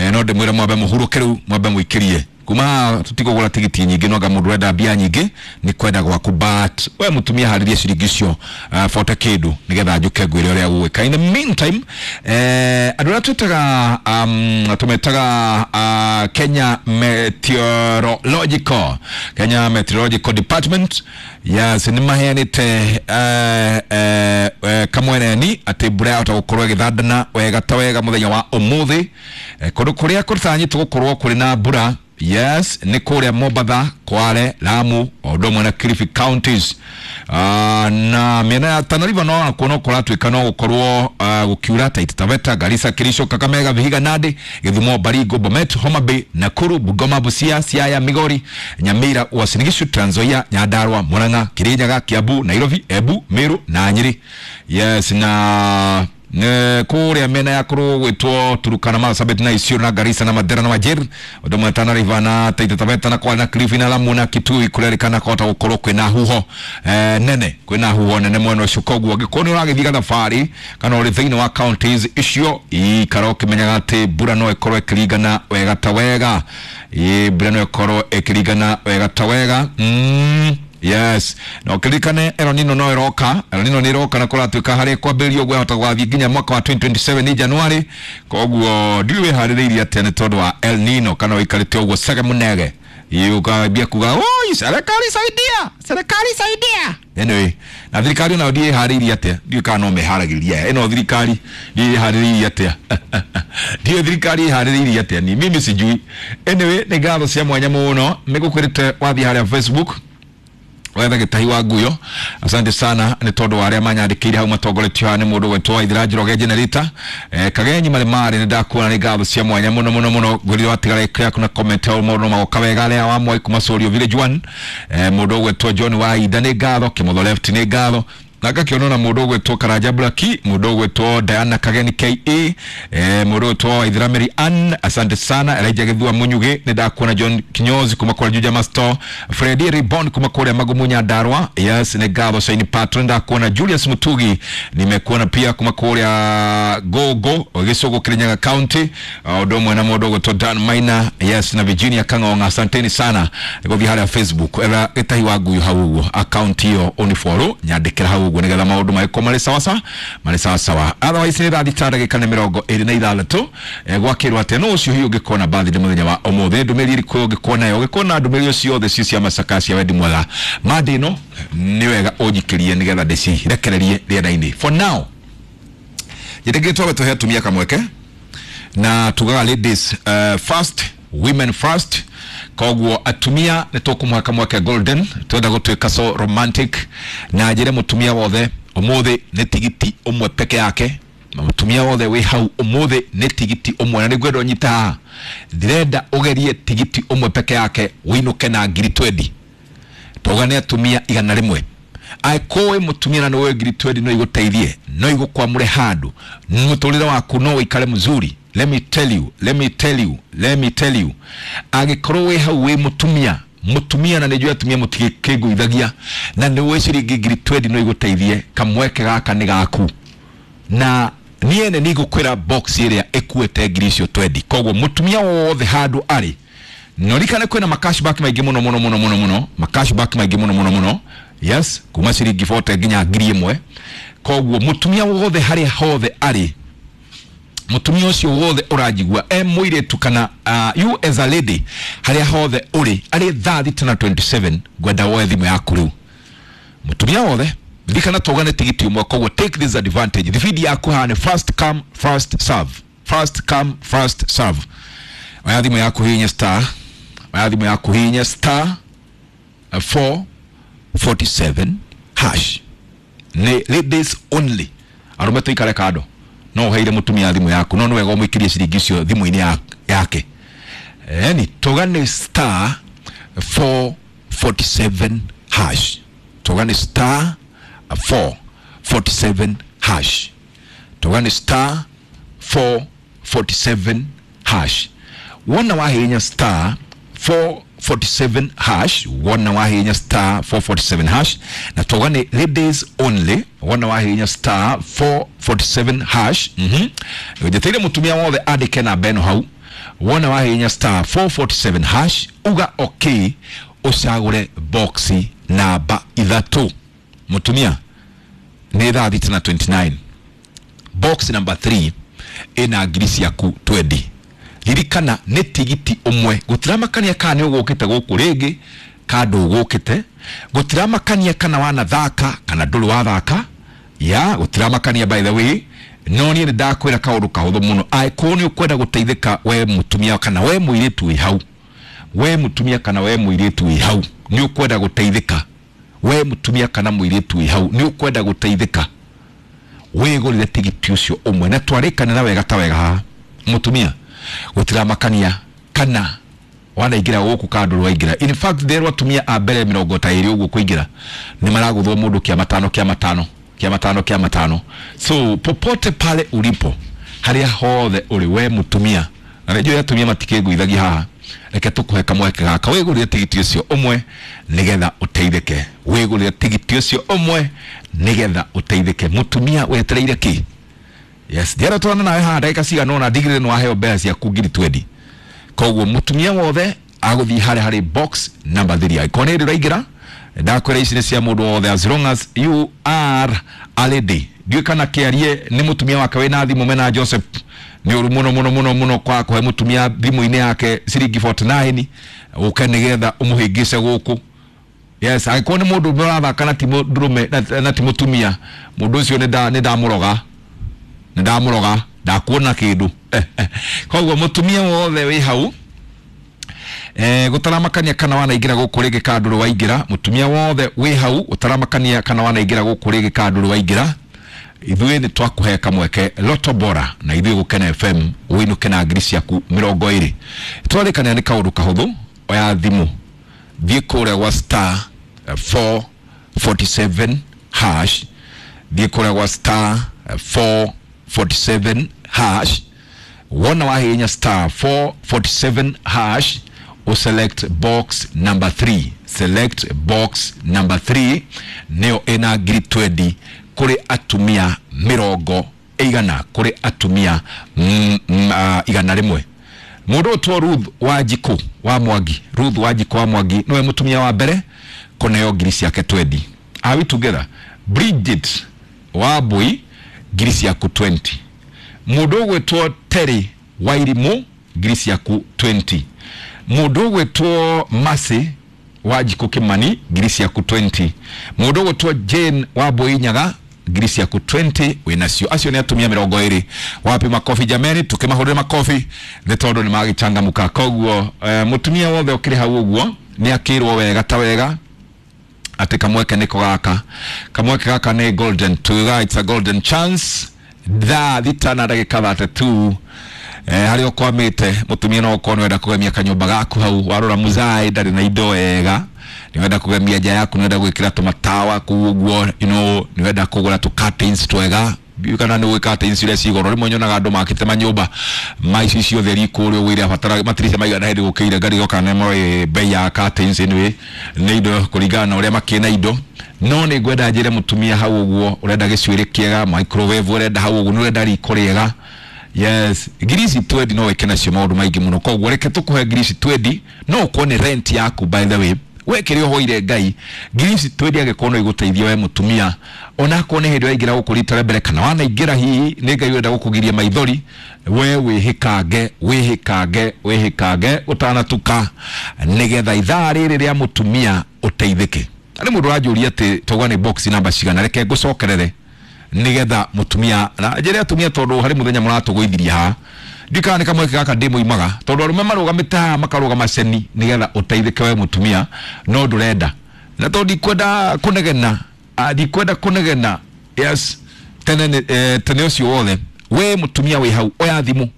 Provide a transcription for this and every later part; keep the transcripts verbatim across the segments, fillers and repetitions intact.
eh, no ndĩmwĩre mwambe mũhurũke rĩu, mwambe mũikĩrie kuma tutikũgũra tigiti nyingĩ, no anga mũndũ ũrenda mbia nyingĩ nĩ kwenda gwaku, but we mũtumia harĩrie ciringi icio uh, bote kĩndũ nĩgetha njũke ngwĩre ũrĩa gũgwĩka. In the meantime, eh, andũ arĩa twĩtaga um, tũmetaga uh, Kenya Meteorological Kenya Meteorological Department, yes, nĩ maheanĩte eh, eh, eh, kamweneni atĩ mbura yahota gũkorwo ĩgĩthandana wega ta wega mũthenya wa ũmũthĩ. eh, kũndũ kũrĩa kũtanyĩtwo gũkorwo kũrĩ na mbura, yes, nĩ kũrĩa Mombatha, Kwale, Lamu o ũndũ ũmwe na Kilifi counties, uh, na mĩena ya Tana River no nakuo no kũratuĩka no gũkorwo uh, gũkiura Taita Taveta, Garissa, Kericho, Kakamega, Vihiga, Nandi, Githumo, Baringo, Bomet, Homa Bay, Nakuru, Bungoma, Busia, Siaya, Migori, Nyamira, Uasin Gishu, Trans Nzoia, Nyandarua, Murang'a, Kirinyaga, Kiambu, Nairobi, Embu, Meru na Nyeri. Yes, na ne kuria mena ya kuru gwitwo Turukana, Marsabit na Isiolo na Garissa na Mandera na Wajir, undu mwe Tana River na Taita Taveta na Kwale na Kilifi na Lamu na Kitui kurerikana kota gukorwo kwina huho eh, nene, kwina huho nene mwena ucio. Koguo angĩkorwo nĩ ũragĩthiĩ gathabarĩ kana ũrĩ thĩinĩ wa counties icio, ikara ũkĩmenyaga atĩ mbura no ĩkorwo ĩkĩringana wega ta wega. Ĩ mbura no ĩkorwo ĩkĩringana wega ta wega. mm. Yes, na ũkĩririkane El Nino no ĩroka. El Nino nĩ ĩroka na kũratuĩka harĩa kwambĩrĩrio gwahota gwathiĩ nginya mwaka wa twenty twenty-seven ní January. Koguo ndiũĩ wĩharĩrĩirie atĩa nĩ tondũ wa El Nino, kana ũikarĩte ũguo cege mũnege ukambia kuga, "Oi, serikali saidia, serikali saidia." Anyway, na thirikari nayo ndiĩ ĩharĩirie atĩa, ndiũĩ kana no meharagĩria ĩno thirikari, ndiĩ ĩharĩrĩirie atĩa, ndiũĩ thirikari ĩharĩrĩirie atĩa, ni mimi sijui. Anyway, nĩ ngatho cia mwanya mũno nĩngũkwĩrĩte wathiĩ harĩa Facebook wetha Gĩtahi wa Nguyo. Asante sana nĩ tondũ wa arĩa manyandĩkĩire hau, matongoretio haha nĩ mũndũ gwetwo Waithira Njoroge Generator, eh, Kagenyi marĩ marĩ nĩ ndakuona. Nĩ ngatho cia mwanya mũno mũno mũno. Ngwĩrire watigara yaku na comment hau, maũndũ magoka wega. Arĩa wa Mwai kuma Sorio Village one, eh, mũndũ ũgwetwo John Wainda, nĩ ngatho. Kĩmotho Left, nĩ ngatho. Na ngakĩona na mũndũ ũgwĩtwo Karanja Blaki, mũndũ ũgwĩtwo Diana Kageni K E, eh, mũndũ ũgwĩtwo Waithira Mary Ann, asante sana. Elijah Gĩthua Munyugi, nĩ ndakuona. John Kinyozi kuma kũrĩa Juja Masto, Freddy Ribon kuma kũrĩa Magumu Nyandarua, yes, nĩ ngatho. Shaini Patron, ndakuona. Julius Mutugi, nimekuona pia kuma kũrĩa Gogo Gĩcũgũ, Kirinyaga County, ũndũ ũmwe na mũndũ ũgwĩtwo Dan Maina, yes, na Virginia Kang'ong'a, asanteni sana. Gũthiĩ harĩa Facebook etha Gĩtahi wa Nguyu hau ũguo, account ĩyo ũnifollow, nyandĩkĩra hau ũguo nĩgetha maũndũ magĩkorwo marĩ sawa marĩ sawa sawa. Otherwise nĩ thaa thita ndagĩka nĩ mĩrongo ĩrĩ na ithathatũ. eh, gwakĩrwo atĩa no ũcio hihi ũngĩkorwo na birthday mũthenya wa ũmũthĩ, ndũmĩrĩri ĩrĩkũ ũngĩkorwo nayo, ũngĩkorwo na ndũmĩrĩri ciothe ci cia macaka cia wendi mwega mande ĩno, nĩ wega ũnjikĩrie nĩgetha ndĩcirekererie rĩera-inĩ. For now, njĩtĩkĩrie twambe tũhe atumia kamweke, na tugaga ladies uh, first, women first. Koguo atumia nĩ tũkũmũhe kamweke golden. Twenda gũtuĩka so romantic na njĩre mũtumia wothe ũmũthĩ nĩ tigiti ũmwe peke yake, na mũtumia wothe wĩ hau ũmũthĩ nĩ tigiti ũmwe, na nĩngwenda ũnyite haha, ndĩrenda ũgerie tigiti ũmwe peke yake wĩinũke na ngiri twendi. Tauga nĩ atumia igana rĩmwe. Angĩkorwo wĩ mũtumia na nĩ ũĩ ngiri twendi no igũteithie, no igũkwamũre handũ mũtũrĩre waku, no ũikare mzuri, let me tell you, let me tell you, let me tell you, angĩkorwo wĩ hau wĩ mũtumia mũtumia na nĩ njũĩ atumia mũtigĩkĩngũithagia, na nĩ ũĩ ciringi ngiri twendi no igũteithie, kamweke gaka nĩ gaku, na niĩ nĩ nĩngũkwĩra box ĩrĩa ĩkuĩte ngiri icio twendi. Koguo mũtumia wothe handũ arĩ, no ririkane kwĩna macashback maingĩ mũno mũno mũno mũno mũno, macashback maingĩ mũno mũno mũno, yes, kuma ciringi mĩrongo ĩna nginya ngiri ĩmwe. Koguo mũtumia wothe harĩa hothe arĩ, mũtumia ũcio wothe ũranjigua e mũirĩtu kana uh, you as a lady, harĩa hothe ũrĩ, arĩ thaa thita na mĩrongo ĩrĩ na ithathatũ, ngwenda woe thimũ yaku rĩu. Mũtumia wothe, ririkana tũgane tigiti ũmwe, koguo take this advantage. Thibindi yaku haha nĩ first come, first serve, first come, first serve. Oya thimũ yaku hihinya star, oya thimũ yaku hihinya star four forty-seven hash. Nĩ ladies only, arũme tũikare kando. No ũheire mũtumia thimũ yaku, no nĩ wega ũmũikĩrie ciringi icio thimũ-inĩ ya- yake. Yani tũgane star four forty-seven hash, tũgane star four forty-seven hash, tũgane star four forty-seven hash. Wona wahihinya star four forty-seven hash, wona wahihinya star four forty-seven hash, na tũgane ladies only, wona wahihinya star four forty-seven hash, mhm njeteire mũtumia wothe andĩke namba ĩno hau. Wona wahihinya star four forty-seven hash, uga okay, ucagure box namba ithatu. Mutumia ni thaa thita na twenty-nine, box number three ina ngiri ciaku twenty. Ririkana nĩ tigiti ũmwe, gũtiramakania kana nĩ ũgũkĩte gũkũ rĩngĩ kana ndũgũkĩte, gũtiramakania kana wanathaka kana ndũrĩ wathaka, ya gũtiramakania by the way. No niĩ nĩ ndakwĩra kaũndũ kahũthũ mũno, angĩkorwo nĩ ũkwenda gũteithĩka we mũtumia kana we mũirĩtu wĩ hau, we mũtumia kana we mũirĩtu wĩ hau nĩ ũkwenda gũteithĩka, we mũtumia kana mũirĩtu wĩ hau nĩ ũkwenda gũteithĩka, wĩgũrĩre tigiti ũcio ũmwe. Na twarĩkanĩra wega ta wega haha mũtumia, gũtiramakania kana wanaingĩra gũkũ kana ndũrĩ waingĩra. In fact therwo atumia a mbere mĩrongo ta ĩrĩ ũguo kũingĩra nĩ maragũthwo mũndũ kĩa matano kĩa matano kĩa matano kĩa matano. So popote pale ulipo, harĩa hothe ũrĩ we mũtumia, na nĩnjũĩ atumia matikĩngũithagia haha, reke tũkũhe kamweke gaka wĩgũrĩre tigiti ũcio ũmwe nĩgetha ũteithĩke. Wĩgũrĩre tigiti ũcio ũmwe nĩgetha ũteithĩke. Mũtumia wetereire kĩ? Yes, ndiara twana nawe haha ndagĩka cigana ũna ndigĩrĩre nĩ waheo mbeca ciaku ngiri twenty. Koguo mũtumia wothe agũthiĩ harĩa harĩ box number three. Angĩkorwo nĩ hĩndĩ ũraingĩra, ndakwĩra ici nĩ cia mũndũ wothe as long as you are a lady. Ndiũĩ kana kĩarie nĩ mũtumia wake wĩna thimũ mena Joseph. Nĩ ũru mũno mũno mũno mũno kwa kũhe mũtumia thimũ-inĩ yake ciringi forty-nine ũke nĩgetha ũmũhĩngĩce gũkũ. Yes, angĩkorwo nĩ mũndũ ũmwe ũrathaka na ti mũndũrũme na ti mũtumia, mũndũ ũcio nĩ ndamũroga, nĩ ndamũroga, ndakuona kĩndũ. Koguo mũtumia wothe wĩ hau, eh gũtaramakania kana wanaingĩra gũkũ rĩngĩ kana ndũrĩ waingĩra, mũtumia wothe wĩ hau ũtaramakania kana wanaingĩra gũkũ rĩngĩ kana ndũrĩ waingĩra, ithuĩ nĩ twakũhe kamweke Lotto Bora na ithuĩ Gũkena F M ũinũke na ngiri ciaku mĩrongo ĩrĩ. Twarĩkania nĩ kaũndũ kahũthũ, oya thimũ, thiĩ kũrĩa gwa star four forty-seven hash, thiĩ kũrĩa gwa star four forty-seven hash. Wona wahihinya star four forty-seven hash, o select box number three. Select box number three nĩyo ĩna ngiri twenty kũrĩ atumia mĩrongo ĩigana, kũrĩ atumia mm, mm, uh, igana rĩmwe. Mũndũ ũtwo Ruth Wanjikũ wa Mwangi, Ruth Wanjikũ wa Mwangi nĩwe mũtumia wa mbere kũneo ngiri ciake twenty. Are we together? Bridget Wambui ngiri ciaku twenty. Mũndũ ũgwĩtwo Terry Wairimũ ngiri ciaku twenty. Mũndũ ũgwĩtwo Mercy Wanjikũ Kimani ngiri ciaku twenty. Mũndũ ũgwĩtwo Jane Wambui Nyaga ngiri ciaku twenty wĩnacio. Acio nĩ atumia mĩrongo ĩrĩ. Wapi makofi jameni, tukĩmahũrĩre makofi nĩ tondũ nĩ magĩchangamũka. Koguo eh, mũtumia wothe ũkĩrĩ hau ũguo nĩ akĩrwo wega ta wega atĩ kamweke nĩko gaka, kamweke gaka nĩ golden tuga, it's a golden chance. Thaa thita na ndagĩka thirty-two. Eh, harĩa ũkwamĩte mũtumia no ũkorwo nĩwenda kũgemia kanyũmba gaku hau, warora muzai ndarĩ na indo wega, nĩwenda kũgemia nja yaku, nĩwenda gwĩkĩra tũmatawa kũu ũguo, you know, nĩwenda kũgũra tũ curtains twega. Ndiũĩ kana nĩ ũĩ curtains iria ci goro, rĩmwe nyonaga andũ makĩte manyũmba ma ici ciothe riko ũrĩa ũgũire abatara matirisha maigana hĩndĩ gũkĩire ngari kana nĩ moĩ bei ya curtains anyway, nĩ indo kũringana na ũrĩa makĩna indo. No nĩ ngwenda njĩre mũtumia hau ũguo ũrenda gĩcuĩrĩ kĩega, microwave ũrenda hau ũguo, nĩ ũrenda riko rĩega. Yes, ngiri ici twenty no wĩke nacio maũndũ maingĩ mũno. Koguo reke tũkũhe ngiri ici twenty, no ũkorwo nĩ rent yaku by the way. We kĩrĩa ũhoire Ngai, ngiri ici twenty angĩkorwo no igũteithie we mũtumia, onakorwo nĩ hĩndĩ waingĩra gũkũ rita rĩa mbere kana wanaingĩra hihi nĩ Ngai ũrenda gũkũgiria maithori, we wĩhĩkange, wĩhĩkange, wĩhĩkange ũtanatuka nĩgetha ithaa rĩrĩ rĩa mũtumia ũteithĩke. Harĩ mũndũ ũranjũria atĩ tauga nĩ box namba cigana, reke ngũcokerere nĩgetha mũtumia na njĩre atumia, tondũ harĩ mũthenya mũratũgũithirie haha, ndiũĩ kana nĩ kamweke gaka ndĩmũimaga, tondũ arũme marũgamĩte haha makarũgama ceni nĩgetha ũteithĩke we mũtumia, no ndũrenda. Na tondũ ndikwenda kũnegena, ndikwenda kũnegena, yes, tene eh, tene ũcio wothe, we mũtumia wĩ hau oya thimũ.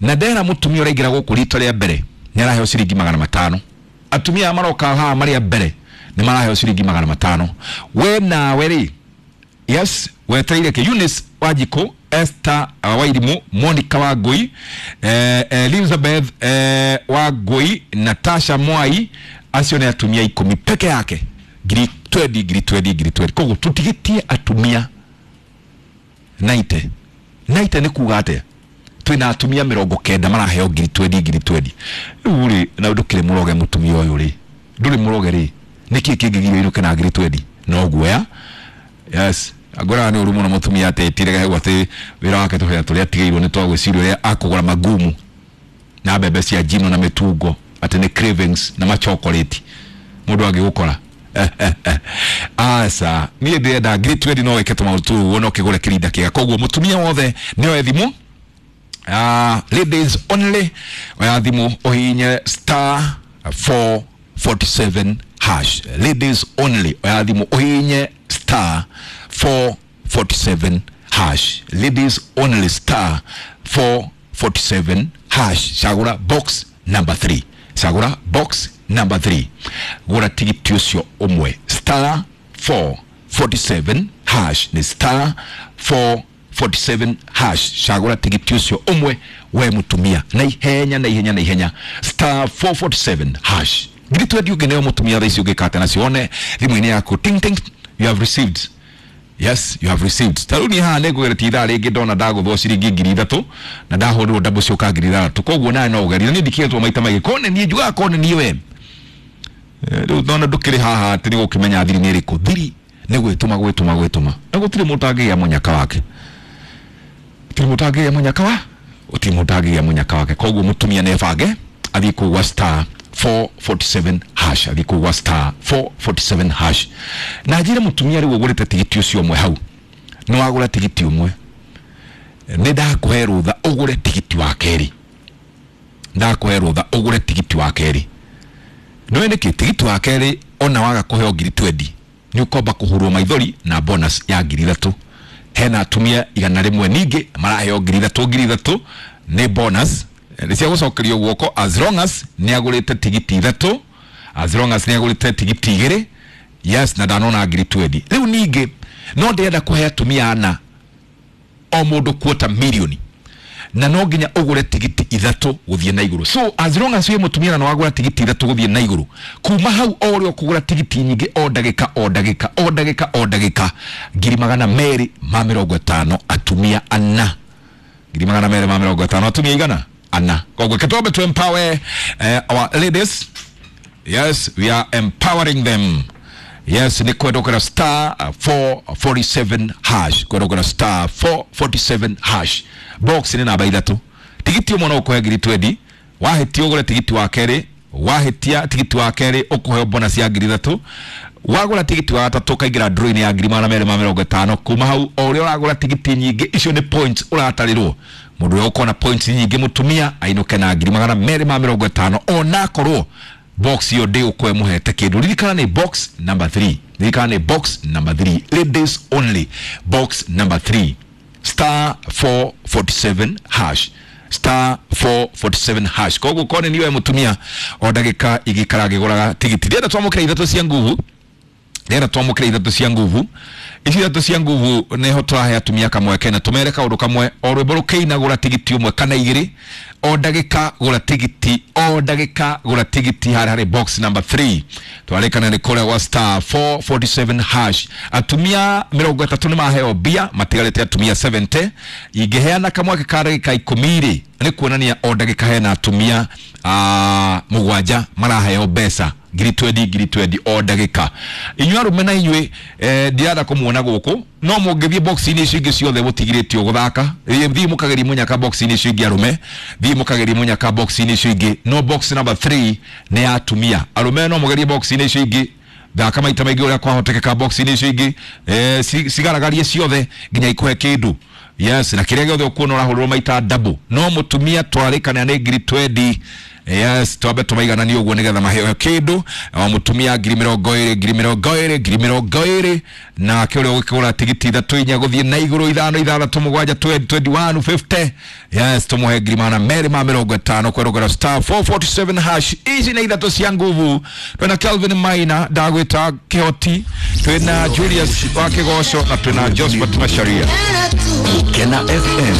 Na ndera mũtumia ũraingĩra gũkũ rita rĩa mbere nĩ araheo ciringi magana matano. Atumia aya maroka haha marĩ a mbere nĩ maraheo ciringi magana matano. We nawe rĩ, yes, wetereire kĩ? Eunice Wanjikũ, Esther Wairimu, Monica Wangui, eh, Elizabeth eh, Wangui, Natasha Mwai, acio nĩ atumia ikũmi peke yake, ngiri twenty, ngiri twenty, ngiri twenty. Koguo tũtigĩtie atumia naite. Naite nĩ kuga atĩa? Twina atumia mirongo kenda maraheo ngiri twendi ngiri twendi. Riu ri na ndukire muroge mutumia uyu ri. Nduri muroge ri. Niki kingigirio inuke na ngiri twendi. No guoya. Yes. Agora ni uru muno mutumia atetire gahegwo ati wira wake tuhea turia atigeirwo ni twagwiciria uria akugura magumu na mbembe cia njino na mitungo ati ni cravings na machocolate mundu angigukora. Asa niĩ ndĩrenda ngiri twendi no wĩke tũmaũndũ tũu ũguo no kĩgũre kĩrinda kĩega. Koguo mũtumia wothe nĩoe thimũ, uh, ladies only, oya thimũ ũhihinye star four forty-seven hash. Ladies only, oya thimũ ũhihinye star four forty-seven hash. Ladies only, star four forty-seven hash. Cagũra box number three. Cagũra box number three. Gũra tigiti ũcio ũmwe star four forty-seven hash. Ni star four forty-seven hash. Cagũra tigiti ũcio ũmwe we mũtumia na ihenya na ihenya na ihenya star four forty-seven hash. Ngiri twendi ũngĩneo mũtumia thaa ici ũngĩkate nacio one thimũ-inĩ yaku ting ting, you have received. Yes, you have received. Ta rĩu niĩ haha nĩngũgeretie ithaa rĩngĩ ndona ndagũthwo ciringi ngiri ithatũ na ndahũrĩrwo double cioka ngiri ithathatũ. Koguo nawe no ũgerie. Niĩ ndikĩretwo maita maingĩ. Kone niĩ njugaga kone niĩ we. Rĩu ndona ndũkĩrĩ haha atĩ nĩ gũkĩmenya thiri nĩ ĩrĩkũ. Thiri nĩ gwĩtũma gwĩtũma gwĩtũma. Na gũtirĩ mũndũ angĩgĩa mũnyaka wake. Gũtirĩ mũndũ angĩgĩa mũnyaka wa? Gũtirĩ mũndũ angĩgĩa mũnyaka wake. Koguo mũtumia nĩebange athiĩ kũu gwa star four forty-seven hash. Athiĩ kũu gwa star four forty-seven hash. Na njĩre mũtumia rĩu ũgũrĩte tigiti ũcio ũmwe hau. Nĩ wagũra tigiti ũmwe. Nĩ ndakũhe rũtha ũgũre tigiti wa kerĩ. Ndakũhe rũtha ũgũre tigiti wa kerĩ. Nĩũĩ nĩkĩ tigiti wa kerĩ ona waga kũheo ngiri twendi nĩ ũkomba kũhũrwo maithori na bonus ya ngiri ithatũ. Hena atumia igana rĩmwe ningĩ maraheo ngiri ithatũ ngiri ithatũ nĩ bonus nĩ cia gũcokerio guoko as long as nĩ agũrĩte tigiti ithatũ, as long as nĩ agũrĩte tigiti igĩrĩ, yes, na ndanona ngiri twendi. Rĩu ningĩ no ndĩrenda kũhe atumia ana o mũndũ quarter million na no nginya ũgũre tigiti ithatũ gũthiĩ na igũrũ. So as long as wĩ mũtumia na nĩwagũra tigiti ithatũ gũthiĩ na igũrũ, kuma hau o ũrĩa ũkũgũra tigiti nyingĩ o ndagĩka o ndagĩka o ndagĩka o ndagĩka ngiri magana merĩ ma mĩrongo ĩtano atumia ana. Ngiri magana merĩ ma mĩrongo ĩtano atumia igana ana. Koguo kĩtwambe to empower uh, our ladies. Yes, we are empowering them. Yes, ni kwendokera star four forty-seven hash. Kwendokera star four forty-seven hash. Box ni namba ithatũ. Tigiti ũmwe no ũkũhe ngiri twendi. Wahĩtia ũgũre tigiti wa kerĩ. Wahĩtia tigiti wa kerĩ ũkũheo bonus ya ngiri ithatũ. Wagũra tigiti wa gatatũ ũkaingĩra draw-inĩ ya ngiri magana merĩ ma mĩrongo ĩtano. Kuma hau o ũrĩa ũragũra tigiti nyingĩ icio nĩ points ũratarĩrwo. Mũndũ ũrĩa ũkona points nyingĩ mũtumia ainũke na ngiri magana merĩ ma mĩrongo ĩtano onakorwo box iyo ndĩgũkũhe mũhete kĩndũ. Ririkana nĩ box number three. Ririkana nĩ box number three. Ladies only. Box number three. Star four forty-seven hash. Star four forty-seven hash. Koguo kone niwe mũtumia o ndagĩka igĩikara ngĩgũraga tigiti. Ndĩrenda twamũkĩre ithatũ cia nguvu. Ndĩrenda twamũkĩre ithatũ cia nguvu. Ici ithatũ cia nguvu nĩho tũrahe atumia kamweke na tũmere kaũndũ kamwe. O rwĩmbo rũkĩina gũra tigiti ũmwe kana igĩrĩ. O ndagĩka gũra tigiti, o ndagĩka gũra tigiti harĩ harĩ box number three. Twarĩkana nĩ kũrĩa gwa star four forty-seven hash. Atumia mĩrongo ĩtatũ nĩ maheo mbia, matigarĩte atumia seventy. Ingĩheana kamweke ka ndagĩka ikũmi rĩ, nĩ kuonania o ndagĩka hena atumia uh, mũgwanja maraheo mbeca ngiri twendi ngiri twendi o ndagĩka. Inyuĩ arũme na inyuĩ eh, ndirenda kũmuona gũkũ no mũngĩthiĩ box-inĩ icio ingĩ ciothe mũtigirĩtio gũthaka. Thiĩ mũkagerie mũnyaka box-inĩ icio ingĩ arũme, thiĩ mũkagerie mũnyaka box-inĩ icio ingĩ. No box number three nĩ ya atumia. Arũme no mũgerie box-inĩ icio ingĩ, thaka maita maingĩ ũrĩa kwahotekeka box-inĩ icio ingĩ, eh, cigaragarie ciothe nginya ikũhe kĩndũ. Yes, na kĩrĩa gĩothe ũkuona ũrahũrĩrwo maita double. No mũtumia twarĩkana nĩ ngiri twendi. Yes, twambe tũmaigananie ũguo nĩgetha maheo kĩndũ. O mũtumia ngiri mĩrongo ĩrĩ, ngiri mĩrongo ĩrĩ, ngiri mĩrongo ĩrĩ. Nake ũrĩa ũgĩkĩgũra tigiti ithatũ inya gũthiĩ na igũrũ ithano ithathatũ mũgwanja twenty-one fifty. Yes, tũmũhe ngiri magana merĩ ma mĩrongo ĩtano kwerũgera star four forty-seven hash. Ici nĩ ithatũ cia nguvu. Twĩna Kelvin Maina ndagwĩta Kĩhoti, twĩna Julius wa Kĩgoco na twĩna Josephat Macharia. Kena F M.